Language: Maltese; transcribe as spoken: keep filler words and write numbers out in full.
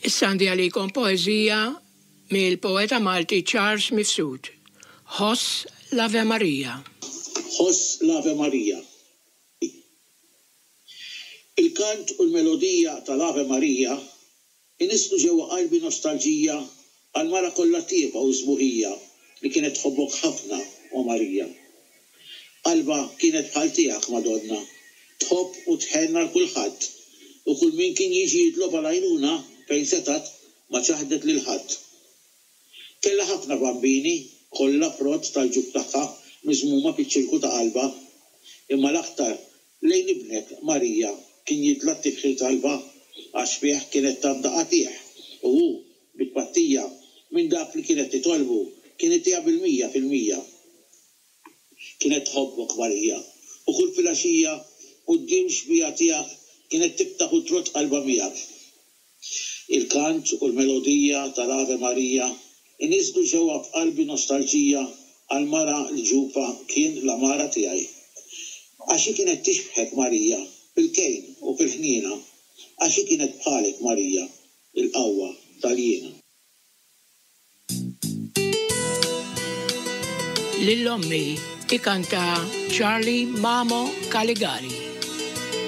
Issa għandi għalikom poeżija mill-poeta Malti Charles Mifsud. Ħoss l-Ave Maria. Ħoss l-Ave Maria. Il-kant u l-melodija tal-Ave Maria inisslu ġewwa qalbi nostalġija għal mara kollha tjieba u sbuħija li kienet tħobbok ħafna, o Marija. Qalbha kienet bħal tiegħek, Madonna, tħobb u tħenn għal kulħadd, u kull min kien jiġi jitlobha l-għajnuna fejn setgħet ma ċaħdet lil ħadd. Kellha ħafna bambini, kollha frott tal-ġuf tagħha miżmuma fiċ-ċirku ta' qalbha, imma l-aktar lejn ibnek, Marija, kien jitla' t-tifħir t'qalbha, għax fih kienet tafda qatigħ, u hu, bi tpattija minn dak li kienet titolbu, kien itiha bil-mija fil-mija. Kienet tħobbok, Marija, u kull filgħaxija quddiem xbieha tiegħek kienet tiftaħ u trodd qalbha miegħek. Il-kant u l-melodija tal-Ave Maria iniżżlu ġewwa f'qalbi nostalġija għall-mara li ġufha kien l-għamara tiegħi. Għax hi kienet tixbħek, Marija, fil-kejn u fil-ħniena, għax hi kienet bħalek, Marija, il-qawwa tal-jiena. Lil ommi ikanta Charlie Mamo Caligari.